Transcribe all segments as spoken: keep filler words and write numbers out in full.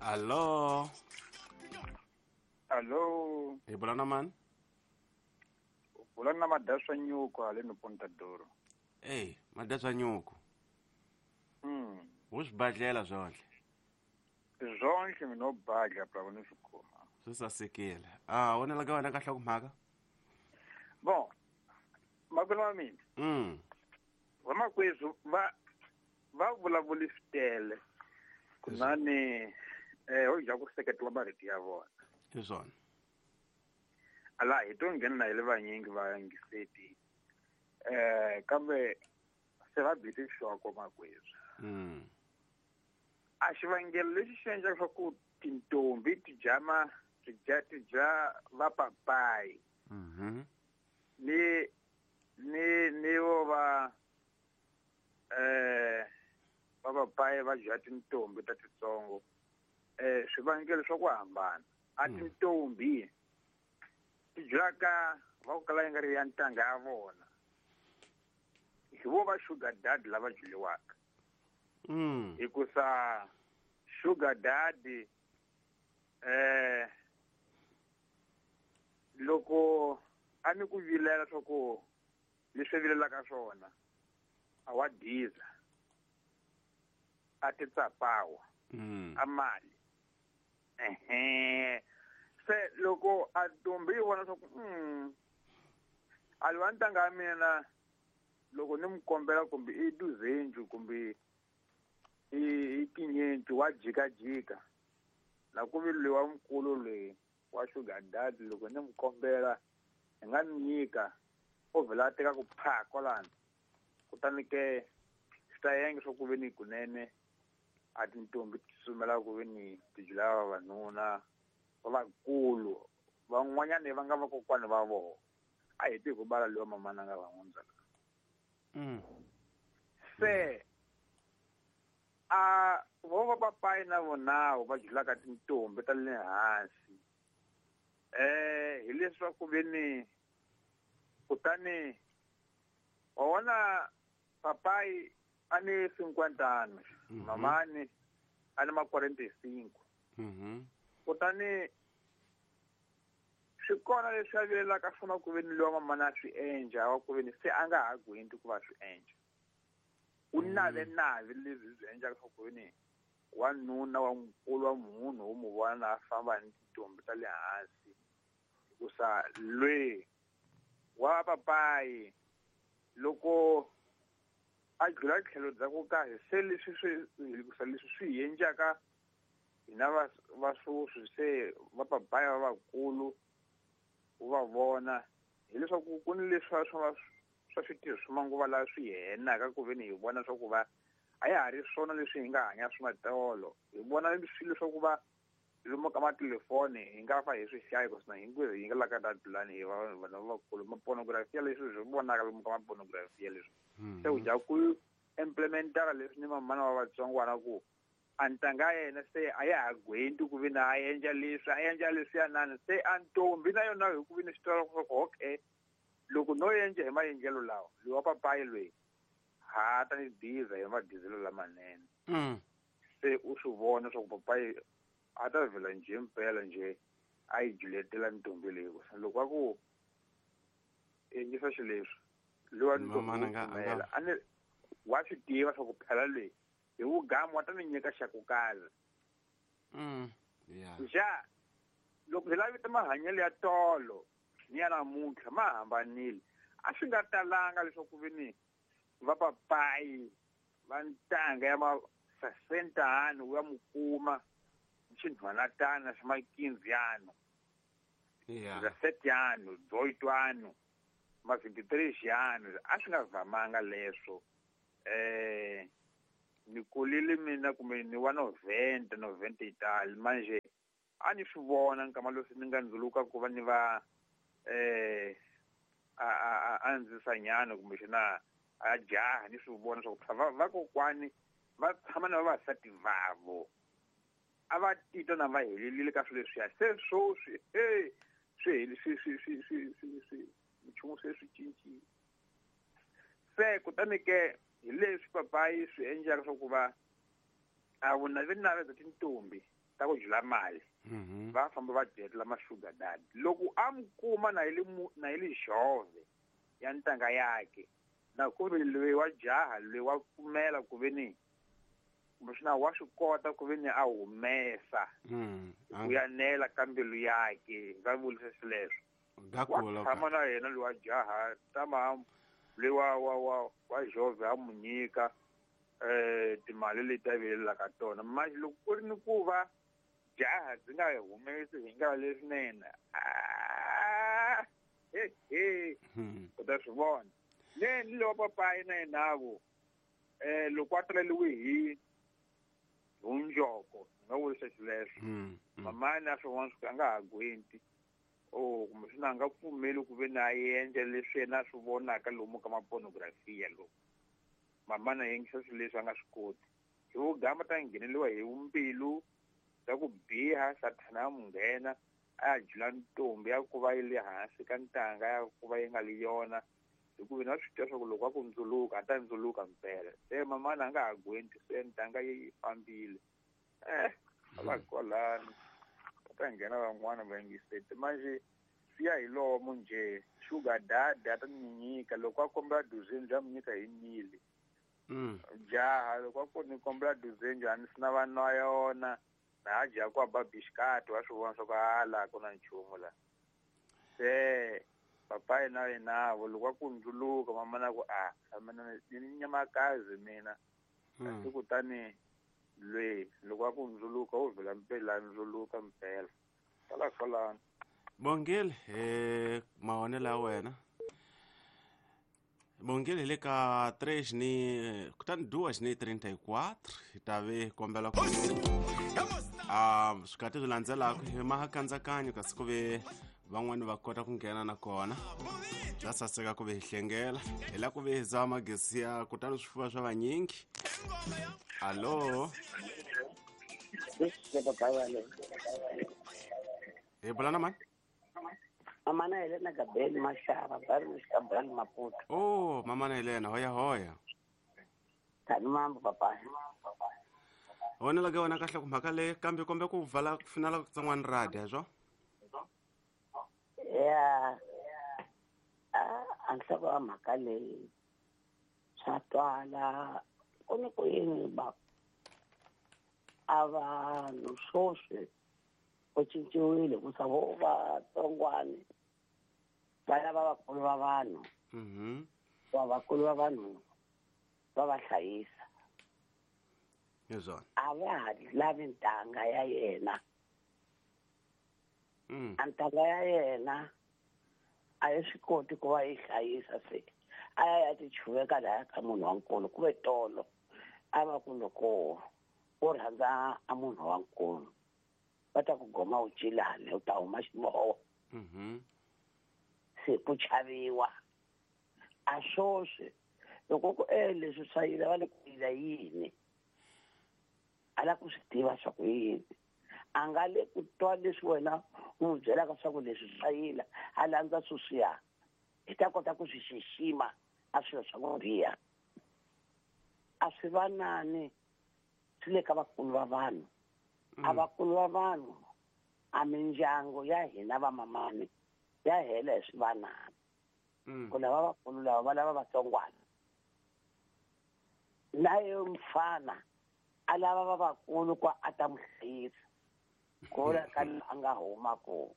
Allo. Allo. Hi bula na mani? Bula na Madaswa Nyuku haleni Pontadoro. Ey, Madaswa Nyuku. Mm. Wu swibadlela swonhle. Swonhle mina no badla phela ni swi kuma. Swi sasekile. Ah, wena la ka wena ka nhlokomhaka? Bon. Makwenu wa mina. Mm. Vamakwethu va va vulavuli switele. Kunani eh ho ja ku seketela marito ya vona. Hi swona. Ala hi to nghena hi le vanyingi va yangiseti. Eh kambe se va bile xoko makwethu. Mm. A xivangelo lexi xi endlaka swa ku tintombi ti jama ti dya ti dya va papayi. Mhm. Ni ni ni vo va eh va papayi va dya tintombi ta titsongo. Eh swivangelo swa ku hambana. A tintombi ti dyaka va ku kala yi nga ri ya ntanga ya vona. Hi vo va sugar daddy lava dyiwaka. Mm. Hikusa sugar daddy eh loko a ni ku vilela swa ku leswi vilelaka swona a wa diza a ti tsapawa mm. a mali ehe se loko a ntombi yi vona swa ku mm a lwa ntanga ya mina loko ni mu kombela kumbe i duzenju kumbe i tinyenti wa jikajika na ku vi loyi wa mukulu loyi wa sugar daddy loko ni mu kombela hi nga ni nyika o vhela a teka ku pha kwalano kutani ke swi ta yenge swa ku ve ni kunene a tintombi ti tsutsumela ku ve ni ti dlaya vavanuna va vakulu van'wanyani va nga vakokwani va vona a hi tivi ku bala loyi wa mamana nga va n'wi Mm. Se a vo va papayi na vonawo va dlulaka tintombi ta le hansi eh hi leswaku ve ni kutani wa vona papayi a ni cinquanta Mhm. mamani a ni ma quarenta e cinco Mhm. kutani swi kona leswi a vilelaka swona ku ve ni loyi wa mamana a swi endla wa ku ve ni se a nga ha gwinti ku va swi endla u nave nave leswi swi endlaka swa ku ve ni wanuna wa mukulu wa munhu wo mu vona a famba ni tintombi ta le hansi hikusa lwe wa papayi loko a dlula tlhelo bya ku kahle se leswi swi hikusa leswi swi hi endlaka hina va va swoswi se va papayi va vakulu u va vona hileswaku ku ni leswi swa swa switirho swa manguva lawa swi henaka ku ve ni hi vona swa ku va a ya ha ri swona leswi hi nga hanya swona tolo hi vona swilo swa ku va lomu ka matelefoni hi nga fa hi swi hlaya hikuva hinkwerhu hi nga la ka dadulani hi va vanhu lavakulu mapornografia leswi swi vonaka lomu ka mapornografia leswi se u dya ku implementara leswi ni mamana wa vatsongwana ku a ntanga ya yena se a ya ha gwenti ku ve ni a endla leswi a endla leswiya nani se a ntombi na yona hi ku ve ni swi tiva ku okay loko no endla hi maendlelo lawa loyi wa papayi loyi ha ta ni diza hi madizelo lamanene Mm. se u swi vona swa ku papayi a ta vhela njhe mpela njhe a yi juletela ntombi leyi loko a ku endlisa xileswi loyi wa Mamana ntombi a nga- a nga- pfumela a ni wa swi tiva swa ku phela leyi hi vugamu wa ta ni nyika xa ku kala Mm. Yeah. ja loko hi lavita mahanyelo ya tolo ni ya namuntlha ma hambanile a swi nga talanga leswaku ve ni va papayi va ntanga ya ma sesentano ya mu kuma xinhwanatana xa makinziyano Yeah. dezesete dezoito ma vinte e três anos a swi nga vamanga leswo eh ni kulile mina kumbe ni wa noventa noventa e tal manje a ni swi vona nkama lowu ni nga ndzuluka ku va ni va eh a a a ndzisanyana kumbe xana a jaha ni swi vona swa ku va vakokwani va tshama na vavasati vavo a va titwa na va helelile ka swilo leswiya se swoswi e swi heli swi swi swi swi swi swi nchumu se swi cincile se kutani ke hi leswi papayi swi endlaka swa ku va a vunavenave bya tintombi ta ku jula mali Mhm. va famba va dyetela ma-sugar daddy loko a mi kuma na yi le mu- na yi le xove ya ntanga yakhe na ku ri loyi wa jaha loyi wa pfumela ku ve ni kumbexana wa swi kota ku ve ni a humesa Mm. ku ya nela ka mbilu yakhe va vulisa swileswo wa Gakula tshama na yena loyi wa jaha tama loyi wa wa wa wa jove a mu nyika eh timali leti a vilelaka tona manje loko ku ri ni ku va jaha byi nga humesi hi nga leswinene ah, he he Mm. u ta swi vona ne ni lowa papayi na yenavo eh loko a taleliwe hi hunjoko ni nga vurisa xileswo Mm. Mm. mamani a swi vona swi a nga ha gwenti o kumbexana a nga pfumeli ku ve ni a endla leswi yena a swi vonaka lomu ka mapornografia lomu mamani a yingisa swilo leswi a nga swi koti hi vugamba ta ngheneliwa hi mbilu ta ku biha sathana ya mu nghena a ya jula ntombi ya ku va yi le hansi ka ntanga ya ku va yi nga li yona hikuva na swi twa swa ku loko a ku ndzuluka a ta ndzuluka mpela se mamani a nga ha gwenti se ntanga yi fambile eh a va kwalano va ta nghena van'wana va yingiseti manje swi ya hi lomu njhe sugar daddy a ta ni nyika loko a kombela duzeni bya mu nyika hi mili Mm. jaha loko a ku ni kombela duzeni njhani swi na va nwa yona na ha dya ku ba bishikati wa swi vona swa ku hala ku na nchumu la se papayi na yenavo loko a ku ndzuluka mamana ku a mina ni nyamakazi mina kasi Mm. kutani lwe loko a ku ndzuluka wo vhela mpela ndzuluka mpela kwala kwalano Bongile eh mahonelo ya wena Bongile hi le ka três ni kutani duas ni trinta e quatro hi ta ve kombela ku a swikati swi landzelaka hi mahakandzakanyo kasi ku ve van'wani va kota ku nghena nakona bya saseka ku ve hi hlengela hi la ku ve hi za magesi ya kutani swifuva swa vanyingi alo hi bula na mani Mamana Helena Gabeli Mashava, bairro Xicabral, Maputo. oh mamana Helena hoya hoya Tani mambo papai. vonela ka wena kahle ku mhaka leyi kambe kombe ku vala ku finala ku tsan'wani radi swo Ya a a nhloko ya mhaka leyi swa twala ku ni ku yini ba a vanhu swoswi ku cinciwile ku sa vo vatsongwani va lava vakulu va vanhu mhm va vakulu va vanhu va va hlayisa hi swona a va ha lavi ntanga ya yena mm a ntanga ya yena a yi swi koti ku va yi hlayisa se a ya ya tichuveka laya ka munhu wa nkulu ku ve tolo a va ku loko u rhandza a munhu wa nkulu va ta ku goma u cilani u ta huma xiboho mhm se ku chaviwa a swoswi loko ku e leswi swa yila va le ku yila yini a la ku swi tiva swa ku yini a nga le ku twa leswi wena u n'wi byelaka swa ku leswi swa yila a landza sweswiya hi ta kota ku swi xixima a swilo swa ku biha a swi vanani swi le ka vakulu va vanhu a vakulu va vanhu a mindyangu ya hina vamamani ya hela hi swivanani mm ku lava vakulu lava va lava vatsongwana na ye mfana a lava va vakulu ku a ta n'wi hlayisa ku la ka a nga huma ko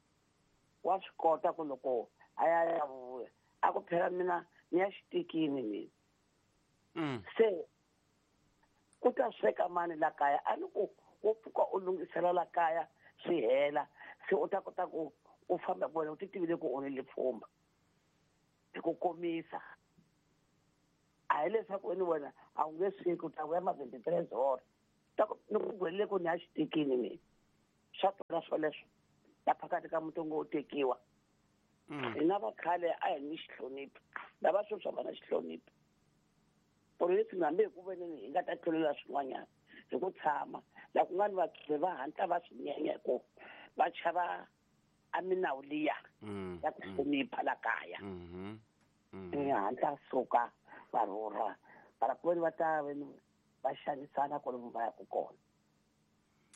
wa swi kota ku loko a ya ya vuya a ku phela mina ni ya xitikini mina mm se ku ta sweka mani la kaya a ni ku wo pfuka u lunghisela la kaya swi hela se u ta kota ku u famba ku wena u ti tivile ku u ni lipfhumba hi ku komisa a hi leswaku wena wena a wu nge sweki u ta vuya ma twenty three zoro ta ku ni ku gwelele ku ni ya xitikini mina swa twala swoleswo la phakati ka muti ngo u tekiwa mm hina va khale a hi ni xihlonipho lava sweswi a va na xihlonipho polisi hambi hi ku veneni hi nga ta tlulela swin'wanyana hi ku tshama la ku nga ni vakhale va hatla va swi nyenya ku va chava a minawu liya mm ya ku hlonipha la kaya mhm i hatla suka va rhurha mara ku veni va ta veni va xanisana kwalomu va yaku kona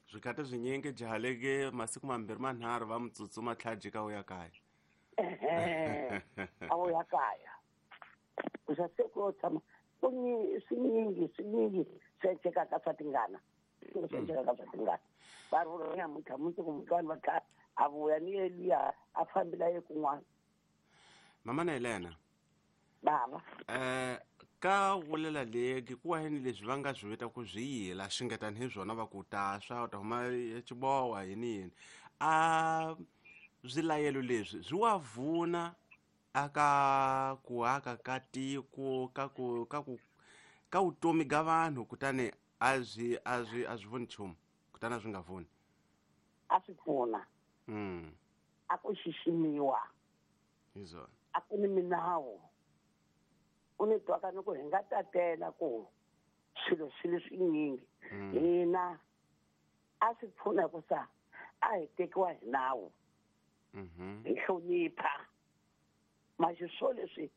Swikati swinyingi jahaleke masiku mambirhi manharhu va mutsutsuma tlhajika u ya kaya. Ehe a wu ya kaya kusa se ku yo tshama ku ni swinyingi swinyingi swi endlekaka swa tingana swi endlekaka swa tingana va ri nyamuntlha mundzuku mutwani va tlha a vuya ni yeluya a fambela ye kun'wana. Mama na Helena bava eh ka vulela legi ku waheni leswi va nga swi vita ku swi yila swi nga tani hi swona va ku ta swa u ta huma xibowa yini yini a swilayelo leswi swi wa vuna aka ku aka ka tiko ka ku ka ku ka vutomi ga vanhu kutani a swi a swi a swi voni nchumu kutani a swi nga voni a swi pfuna mm a ku xiximiwa hi swona a ku ni minawu u ni twaka ni ku hi nga tatela ku swilo swi le swinyingi hina a swi pfuna ku sa a hi tekiwa hi nawu hi hlonipha maxi swo leswi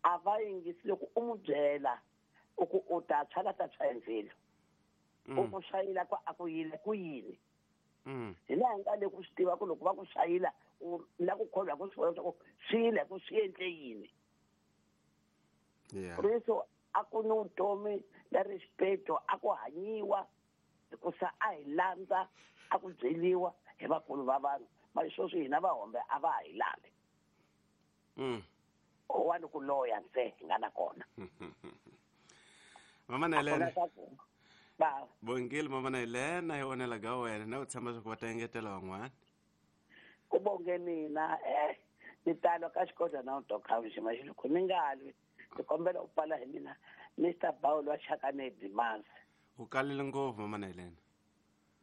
a va yingisi loko u n'wi byela u ku u ta tshwa la ta tshwa hi ndzilo u ku swayila ku a ku yile ku yini hi laha hi nga le ku swi tiva ku loko va ku swayila u la ku kholwa ku swi vona leswaku swi yile ku swi endle yini. Riso a ku ni vutomi na respeto a ku hanyiwa hikusa a hi landza a ku byeliwa hi vakulu va vanhu mali sweswi hina vahombe a va ha hi lavi. Owani ku loya nse hi nga na kona. Mama na Helena ba bongile mama na Helena hi onela ga wena na u tshemba swa ku va ta engetela van'wana. Ku bonge mina eh ni talo ka xikodla na u tokha xima xiloko ni nga lwi ni kombela u pfala hi mina Mister Bawulo wa Chakane Dimansi. U kalile ngopfu mama na Helena.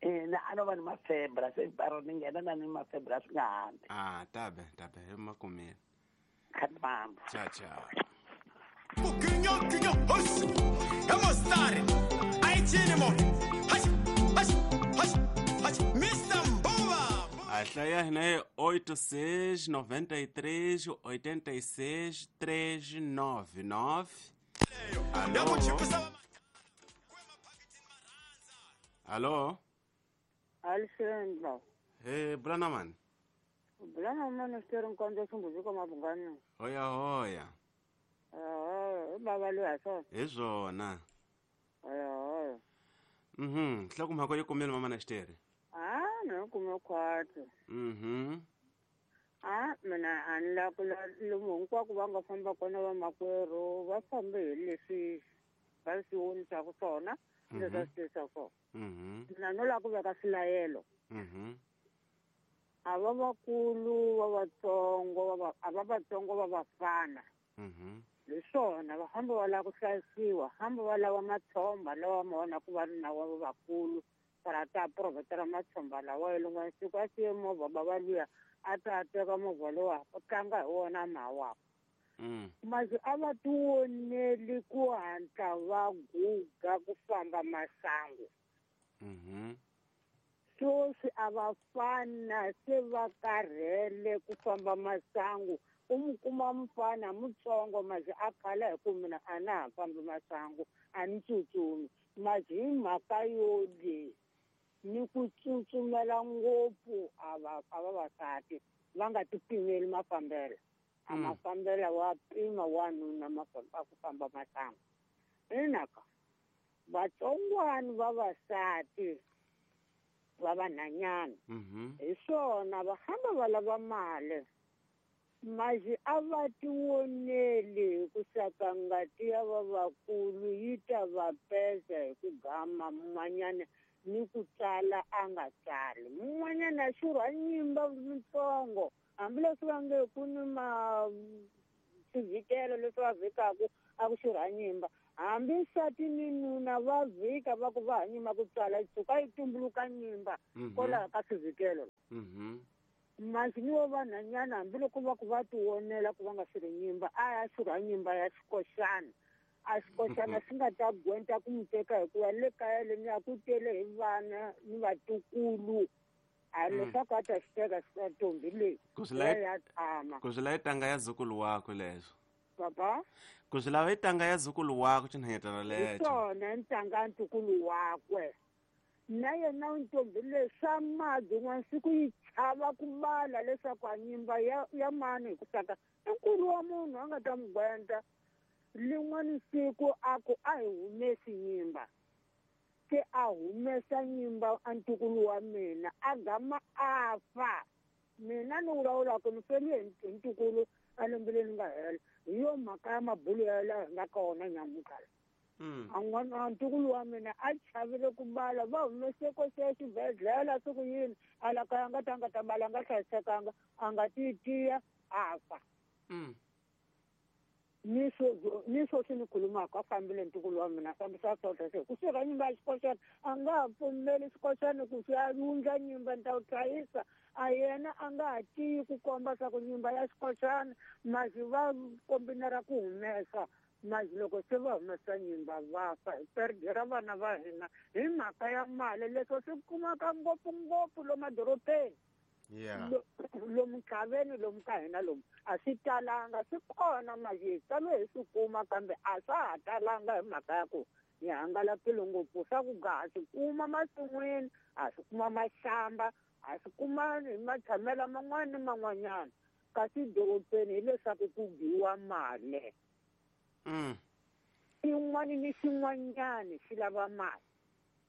Ina a no va ni mafebra se baro ni nghena na ni mafebra swi nga hambi. Ah tabe tabe hi makumile. Khatimambo. Cha cha. Kukinyo kinyo hos. Hemostari. Aichini mo. Hash hash hash hash Mister Mbova. A hlaya hina é oito seis noventa e três oitenta e seis três nove nove. Alô? Alô? Alexandre. Hey, Brana man. Brana man, estou em conta com você como abungana. Hoya hoya. Ah, baba lo aso. Ezona. Hoya hoya. Mhm, hloko mhako yo kumela mama na xitere. Ah, no kume khwatsi. Mhm. Ah, mina a ni la ku lomu hinkwako va nga famba kona vamakwerhu va fambe hi leswi va swi vonisaka swona leswi va swi tirhisaka swona. Mhm. Mina no lava ku veka swilayelo. Mhm. A va vakulu va vatsongo va a va vatsongo va vafana. Mhm. Hi swona va hamba va lava ku hlayisiwa hamba va lava matshomba lawa ma vona ku va ri na wa vakulu para ta provhetela matshomba lawa rin'wana siku a siye movha bava luya a ta teka movha lowa u tlanga hi wona mhawa. Mm. Masi a va tioneli ku hatla va guga ku famba masangu. Mhm. Sweswi a va fana se va karhele ku famba masangu. U mu kuma mufana mutsongo masi a khala hi ku mina a na ha fambi masangu a ni tsutsumi. Masi hi mhaka yo leyi ni ku tsutsumela ngopfu a va a vavasati va nga ti pimeli mafambelo. A mafambelo wa pima wanuna mafamba ku famba masangu. Inaka vatsongwani vavasati va vanhanyana hi swona va hamba va lava mali. Masi a va tioneli hi ku saka ngati ya vavakulu yi ta va pesa hi ku gama mun'wanyana ni ku tsala a nga tsali. Mun'wanyana a xurha nyimba mitsongo hambileswi va nge ku ni ma swivikelo leswi va vhikaku a ku xurha nyimba. Hambi nsati ni nuna va vhika va ku va ha nyima ku tsala yi tshuka yi tumbuluka nyimba kwalaho ka swivikelo. Mhm. Masi ni wo vanhanyana hambiloko va ku va tionela ku va nga xurhi nyimba a ya xurha nyimba ya xikoxana. A xikoxana xi nga ta gwenta ku mu teka hikuva le kaya leni a ku tele hi vana ni vatukulu. A leswaku a ta xi teka ntombi leyi ya tshama. Ku swi lava tanga ya zukulu wakwe leswo. Papa? Ku swi lava tanga ya zukulu wakwe xinhanyetana lexo. Hi swona ntanga ya ntukulu wakwe. Na yena ntombi leyi swa madi n'wana siku yi chava ku bala leswaku a nyimba ya ya mani hi ku saka i nkulu wa munhu a nga ta n'wi gwenta. Lin'wani siku a ku a hi humesi nyimba, se a humesa nyimba a ntukulu wa mina a gama a fa. Mina ni vulavulaka ni feli hi ntukulu a lembe leri nga hela. Hi yo mhaka ya mabulo ya laha hi nga ka wona nyamutlha. A ntukulu wa mina a chavile ku bala, va humese ko se xibedhlele siku yini a la kaya nga ta nga ta bala nga hlayisekanga a nga ti tiya a fa. Ni swo ni sweswi ni khulumaka a fambile ntukulu wa mina a fambisa swona se kusuka nyimba ya xikoxana a nga ha pfumeli xikoxana ku swi ya wundla nyimba ni ta wu hlayisa. A yena a nga ha tiyi ku komba swa ku nyimba ya xikoxana masi va kombinera ku humesa masi loko se va humesa nyimba va fa hi perdera vana va hina hi mhaka ya mali. Leswo swi kumaka ngopfungopfu lomu madorobeni. Yeah. Lomu ntlhaveni lomu ka hina lomu a swi talanga, swi kona masi talo hi swi kuma kambe a swa ha talanga hi mhaka ya ku hi hangalakile ngopfu. Swa ku ga ha swi kuma masin'wini, ha swi kuma maxamba, ha swi kuma hi matshamelo man'wana ni man'wanyana. Kasi dorobeni hileswaku ku biwa mali. Xin'wana ni xin'wanyana xi lava mali.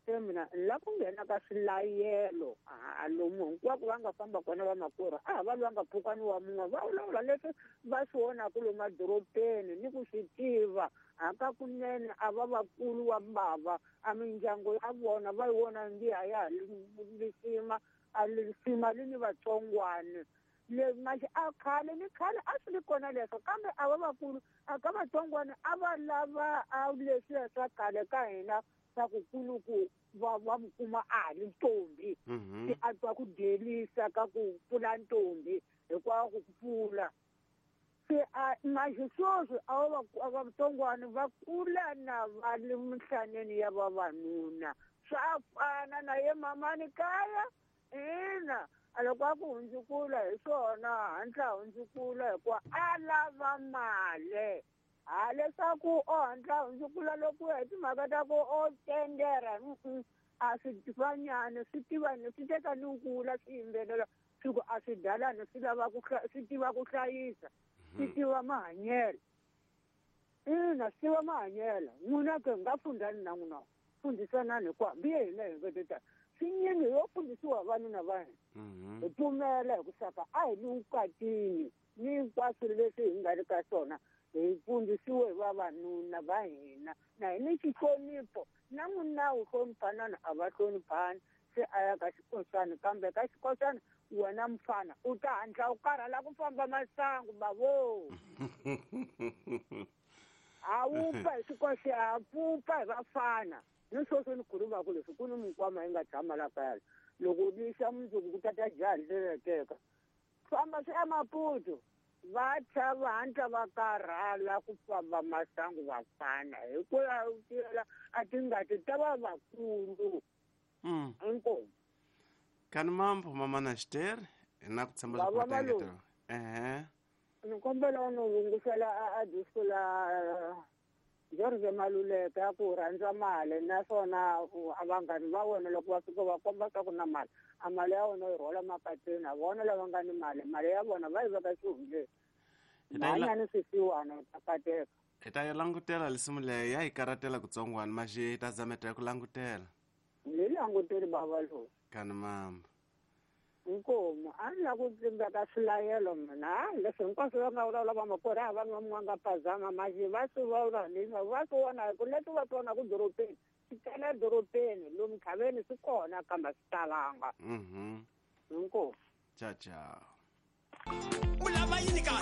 Se mina ni lava ku nghena ka swilayelo a lomu hinkwako va nga famba kona vamakwerhu a ha va lwanga mpfhukani wa mun'we va vulavula leswi va swi vonaka lomu madorobeni ni ku swi tiva. Hakakunene a va vakulu wa bava a mindyangu ya vona va yi vona ngi a ya ha lisima a lisima li ni vatsongwana. Le manje a khale ni khale a swi li kona leswo kambe a va vakulu a ka vatsongwana a va lava a leswiya swa khale ka hina swa ku kuluku va va mu kuma a ha ri ntombi. Se a twa ku dyelisa ka ku pfula ntombi hikwalaho ku pfula. Se a manje sweswi a va vatsongwana va kula na va le mihlaneni ya vavanuna. Swa fana na ye mamani kaya ina a loko a ku hundzukula hi swona hatla hundzukula hikuva a lava mali. Ha leswaku o hatla hundzukula loko hi timhaka ta ku o tendera a swi fanyani swi tiva swi teka ni kula swi yimbelela swi ku a swi dalani swi lava ku swi tiva ku hlayisa swi tiva mahanyelo. Ina swi tiva mahanyelo. N'wina ke nga fundani na n'wina fundisanani hi ku hambi hina hi nga ta swinyingi yo fundisiwa vavanuna va hina. Hi pfumela hi ku saka a hi ni vukatini ni hinkwaswo leswi hi nga ri ka swona hi fundisiwe hi vavanuna va hina na hi ni xihlonipho na n'wina wu hloniphanana a va hloniphani. Se a ya ka xikoxana kambe ka xikoxana wena mfana u ta hatla u karhala ku famba masangu bavo. A wu pfa hi xikoxa a pfupa hi vafana. Ni sweswi ni khulumaka leswi ku ni minkwama yi nga tshama la kaya loko lixa mundzuku ku tata jaha leri teka famba swi eMaputo va tshava va hatla va karhala ku famba masangu vafana hikuva tiyela a tingati ta va vakulu. Inkomu. Kani mambo mama na xiteri na ku tshemba Bava leswaku ta malume. engetela. Ehe. Ni kombela u ni hungisela a disco la George Maluleke ya ku rhandza mali naswona a vanghani va wena loko va fika va komba swa ku na mali a mali ya wena yi rhwala mapatwini a vona lava nga ni mali mali ya vona va yi veka xihundleni. Hi ta yi la- Hanya ni swisiwana u ta kateka. Hi ta yi langutela lisimu leyi ya yi karatela kutsongwana maxi hi ta zameta ya ku langutela. Ni languteli bava lowu. Kani mambo. Inkomu a ni lava ku tlimbeka swilayelo mina a leswi hinkwaswo va nga vulavula vamakwerhu a va nga n'wanga phazama maxi va swi vona ni va swi vona hi ku leswi va swi vonaka dorobeni swi tele dorobeni lomu ntlhaveni swi kona kambe a swi talanga. Mhm. Inkomu. Ciao ciao. U lava yini kasi?